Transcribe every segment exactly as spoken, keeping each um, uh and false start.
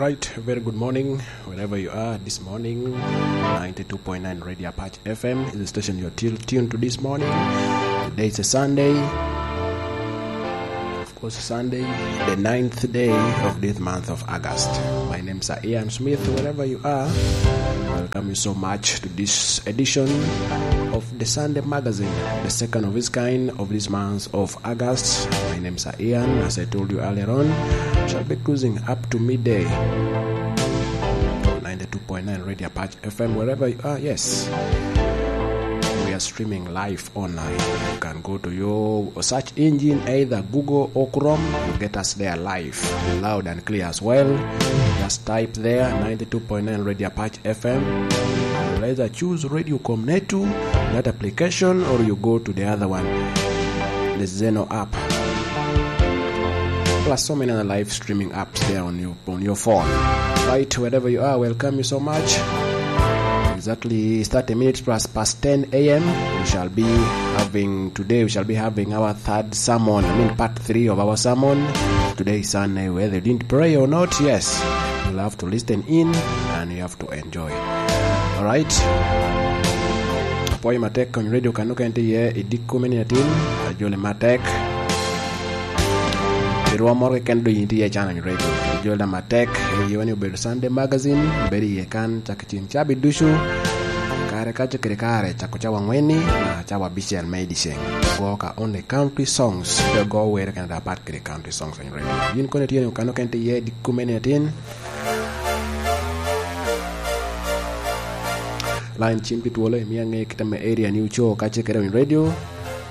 Right, very good morning, wherever you are this morning. Ninety-two point nine Radio Apache F M is the station you're till tuned to this morning. Today is a Sunday. Of course, Sunday, the ninth day of this month of August. My name is Ian Smith. Wherever you are, welcome you so much to this edition of the Sunday magazine, the second of its kind of this month of August. My name is Ian. As I told you earlier on, shall be cruising up to midday. Ninety-two point nine Radio Apache F M, wherever you are, yes. We are streaming live online. You can go to your search engine, either Google or Chrome, you get us there live, loud and clear as well. Just type there, ninety-two point nine Radio Apache F M. You'll either choose Radio Comnetu, that application, or you go to the other one, the Zeno app. Plus so many other live streaming apps there on your, on your phone. Right, wherever you are, welcome you so much. Exactly thirty minutes plus past ten a m, we shall be having, today we shall be having our third sermon, I mean part three of our sermon. Today is Sunday, whether you didn't pray or not, yes, you'll have to listen in and you have to enjoy. All right. Apwoyo matek Kony Radio kan okene tye iye i dikko me nino atin, ajoli matek. I rwom moro keken doŋ yin tye iye can Kony Radio. Ajoli matek, iye ni obedo Sunday Magazine, bedo iye kan cak i ceng cabit ducu. Kare ka ce kede kare, cako cawa angwen-ni, nyaka cawa abicel me i dyeceng. Go ka only country songs, pe go wer kene da apat kede country songs Kony Radio. Yin kono itye ni kan okene tye iye dikko me nino atin. Line cim tye twolo, imio aŋe kit ame area ni oco ka ce kede Kony Radio.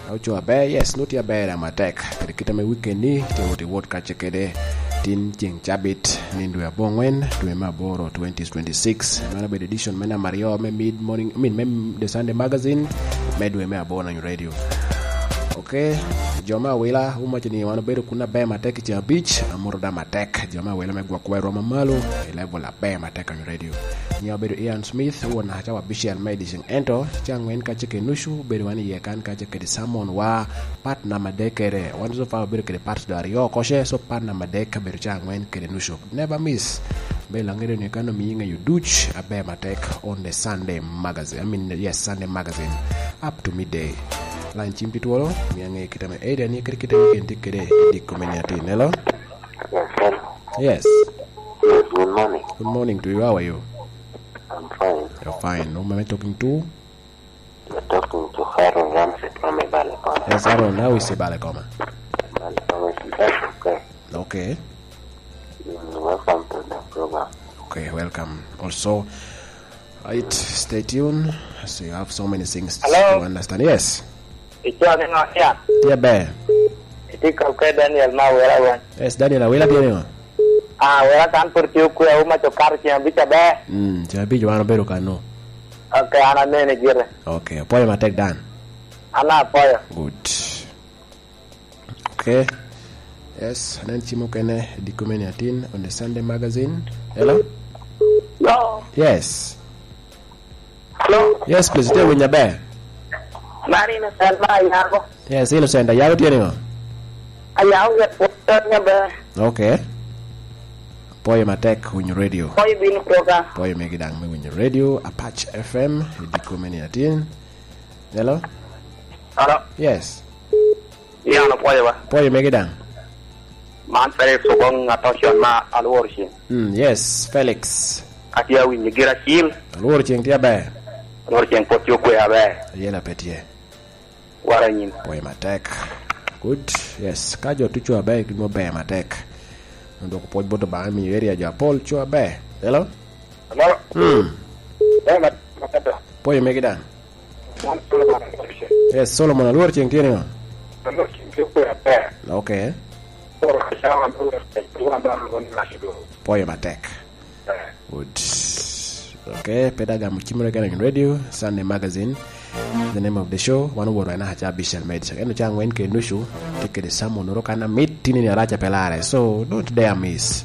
Ka oco aber, yes, nut tye aber daŋ matek. Kede kit ame weekend ni, tye wot i wot ka ce kede tin ceng cabit, nino dwe abongwen, dwe me aboro, twenty twenty-six. Meno obedo edition me namba aryo me mid morning, I mean, me The Sunday Magazine, me dwe me aboro Kony Radio. Ok, jo me awila, wumaco ni wan obedo kun aber matek i ceng abic, amoto daŋ matek. Jo me awila me gwokwa i rwom amalo, i level aber matek Kony Radio. Nyiŋa obedo Ian Smith, won naka cawa abicel me ediceŋ. Ento, cawa aŋwen ka ce kede nucu, bedo wan iye kan ka ce kede sermon wa, part namba adek kede. Wan so far obedo kede part doŋ aryo oko ce, so part namba adek ka bedo cawa aŋwen kede nucu. Never miss. Bel aŋedo ni kan omii ŋeyo duc aber matek on the Sunday magazine. I mean, yes, Sunday magazine. Up to midday. Line cim tye twolo, mi aŋe kit ame area ni kede kit ame weekend tye kede i dikko me nino atin. Hello? Yes, hello. Yes. Yes, good morning. Good morning to you. How are you? I'm fine. You're fine. Whom am I talking to? You're talking to Harold Ramsey from Ibale Koma. Yes, Harold, how is Ibale Koma? Ibale Koma is best, okay. Okay. Mm, welcome to the program. Okay, welcome. Also, right, stay tuned. So you have so many things Hello? To understand. Yes. Ico ni ŋo ya? Tye aber. Iti kop ke Daniel ma Awila wan. Yes, Daniel Awila tye ni ŋo? Ah, Awila kan pwod tye okwe, auma co kato ceng abic aber. Mm, ceng abic wan obedo kano. Ok, an anene gire. Ok, apwoyo matek dan. An apwoyo. Good. Ok. Yes, anen cim okene, dikko me nino atin on the Sunday magazine. Hello? Hello? Yes. Hello? Yes, please, itye winyo aber. Mari Innocent ma Ayago. Yes, Innocent, Ayago tye ni ŋo? Ayago yet pwod tye aber. Ok. Pwoyo matek winyo radio. Pwoyo bino program. Pwoyo megi daŋ me winyo radio, Apache F M, i dikko me nino atin. Hello? Hello? Yes. Ian opwoyo ba? Pwoyo megi daŋ. Man Felix Ogoŋ Atocion ma Alwor Ceng. Mm, yes, Felix. Atye awinyo gira cil. Alwor Ceng tye aber. Alwor Ceng pwod tye okwe aber. Ayela pe tye. Wara nyin. Pwoyo matek. Good. Yes, ka jo tuco aber, gin mo ber matek. Dwoko pwoc bot Obaŋa miyo area jo apol co aber. Hello? Hello? Mm. Ber mat-, matek. Pwoyo megi daŋ. Yes, Solomon Alwor Ceng tye ni ŋo? Alwor Ceng tye kwe aber. Ok. Pwoyo matek. Eh. Good. Ok, pe daŋ gamo cimere kene in radio, Sunday Magazine. The name of the show, wan owoto en aca abicel me ediceŋ. Ento ca angwen kede nucu, tye kede sermon oro kan amit, tin ni arac a pe lare. So, don't dare miss.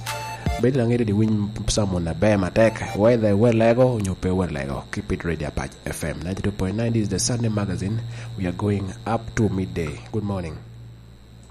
Bed laŋet di winy sermon aber matek, whether iwot lego, onyo pe iwot lego. Keep it ready, Apache F M ninety-two point nine, this is the Sunday Magazine. We are going up to midday. Good morning.